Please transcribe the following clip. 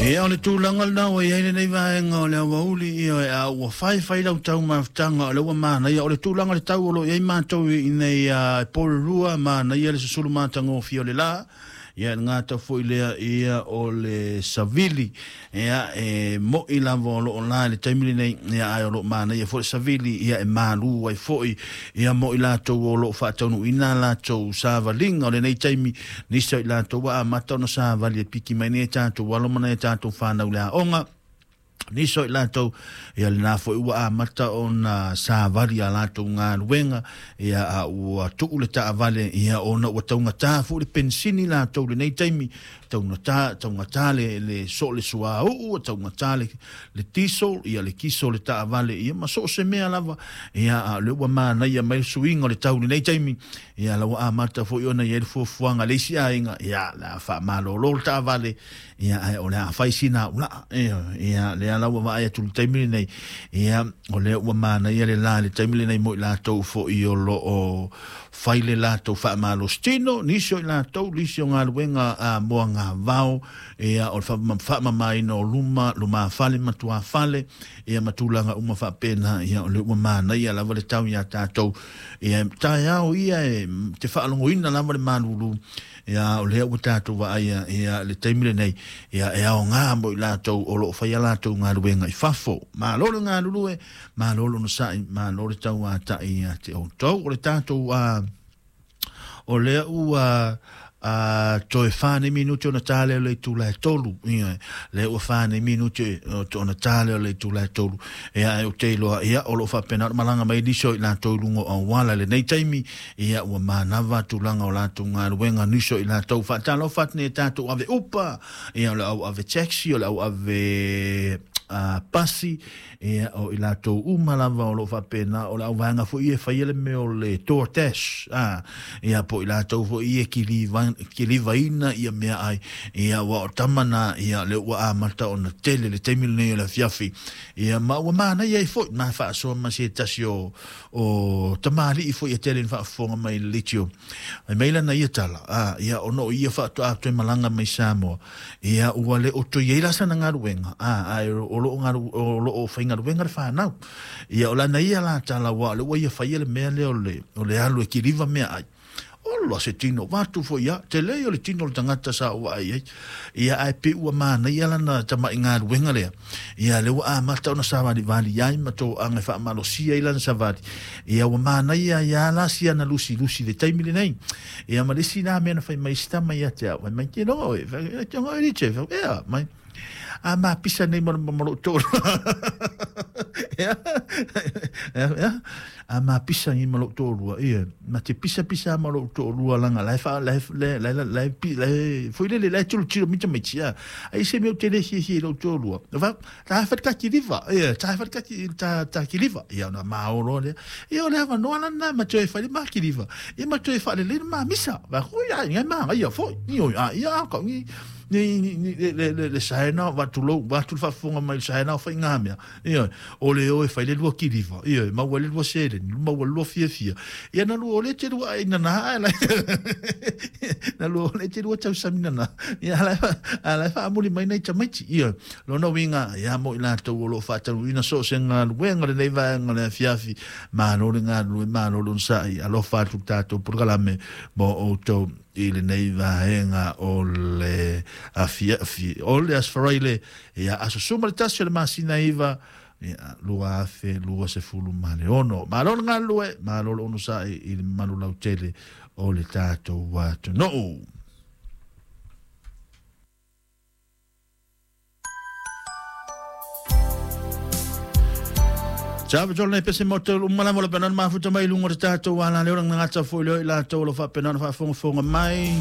Ia, o le tulaga lena ua i ai lenei vaega o le aoauli, ia, a ua faifai lau taumafataga, o lea ua manaia. O le tulaga o le tau o lo o i ai matou i inei i Porirua, manaia le susulu matagofie o le la. Ia, e gata foi lea, ia, o le savili, ia, e mo'i lava o loo la i le taimi lenei, ia, ae o loo manaia foi le savili, ia, e malu ai foi, ia, mo i latou o loo faataunuuina latou savaliga o lenei taimi. Nisi o i latou ua amata ona savali e piki mai nei tatou alo ma nai tatou whanau le aoga. Nisi o i latou, ia, lena foi ua amata ona savali a latou galuega, ia, a ua tuu le taavale, ia, ona ua taugata foi le penisini latou lenei taimi, taugata, taugata le so le suauu, taugata le diesel, ia, le kiso le taavale, ia, ma so o se mea lava, ia, a o lea ua manaia mai le suiga o le tau lenei taimi, ia, la ua amata foi ona i ai le fuafuaga le isi aiga, ia, la faamalolo le taavale, ia, ae o le a fai sina ulaa, ia, ia, lea la ua vaai atu i le taimi lenei, ia, o lea ua manaia le la i le taimi lenei mo i latou foi o loo fai le latou faamalositino, nisi o i latou, nisi o galuega a moagavao, ia, o le faamamaina o luma, lumafale ma tuafale, ia, ma tulaga uma faapena, ia, o lea ua manaia lava le tau iā tatou, ia, taeao ia e te faalogoina lava le malulu, ia, o lea ua tatou vaaia, ia, le taimi lenei, ia, e aogā mo i latou o loo faia latou galuega i fafo. Malo le galulue, malo le onosai, malo le tauata'i ia te outou. O le tatou o lea ua toe 4 nei minuti ona tā lea o le itula e 3. Ia, lea ua 4 nei minuti ona tā lea o le itula e 3. Ia, e ou te iloa, ia, o loo faapena ona malaga mai nisi o i latou i luga o auala i lenei taimi, ia, ua manava tulaga o latou galuega, nisi o i latou. Faatalofa atu nei tatou ave upa, ia, o le au ave taxi, o le au ave pasi, ia, o i latou uma lava o loo faapena, o le au vaega foi e faia le mea o le DoorDash, ia, po i latou foi e kilivaina ia mea ai, ia, ua o tama na, ia, le ua amata ona tele le taimi lenei o le afiafi, ia, ma ua manaia ai foi ma faasoa ma se tasi o tamalii foi e tele ni faafofoga mai le litio. Ai mai lana ia tala, ia, ona o ia faatoa toe malaga mai Samoa, ia, ua le o toe i ai la sana galuega, ae o loo galu, o loo faigaluega le whanau. Ia, o lana ia la tala, ua o le ua ia faia le mea lea o le alu e kiliva mea ai. Olo se tino, watu foi ia, te lei o le tino o le tangata sa ua ai ai. Ia, ae pe ua manaia lana tama'i galuega lea. Ia, le ua amata ona savalivali ai ma toaga e faamalosia ai lana savali. Ia, ua manaia ia la sia na lusi lusi le taimi lenei. Ia, ma le isi la mea na fai mai si tama ia te au. Fai mai te loa oe, fai te ngoe liche, fai ea, mai. A ma pisa nei ma lou tolu. Ia, ia, ia. A ma pisa nei ma lou toalua, ia. Ma te pisa pisa ma lou toalua langa la fa la la la la la pi la foi le la tulu tilo mita mai tia. Ai se meu tele hi hi lou toalua. Va ta fa ka kiliva, ia, ta fa ka ta ta kiliva. Ia na ma olo le. Ia o le ava no ala na ma toe fa le ma kiliva. Ia ma toe fa le le ma misa. Va ko ia ngai ma ia foi. Ni o ia ka ni ni ni le le le saena va tu lo va tu faafofoga mai le saena o faiga mea. Ia, o le o e fai le lua kiliva, ia, maua le lua seleni, maua le lua fiafia. Ia, na lua o le te lua ai nana ai la. Na lua o le te lua tausami nana. Ia, ala faamuli mai nei tamaiti. Ia, lona uiga, ia, mo i latou o loo faataunuuina so o se galuega lenei vaega o le afiafi. Malo le galulue, malo le onosai, alofa atu le tatou polokalame mo outou i lenei vaega o le afiafi o le Aso Faraile, ia, aso 11 o le masina 9, ia, 2026. Malo le galulue, malo le onosai i le mamalu lautele o le tatou atunuu. Sa pa tolo nei pese mo te uma lava o le pena mafuta mai lunga o te tātou ala leo ngata foi leo i latou o lo faapena ona faafogafoga mai.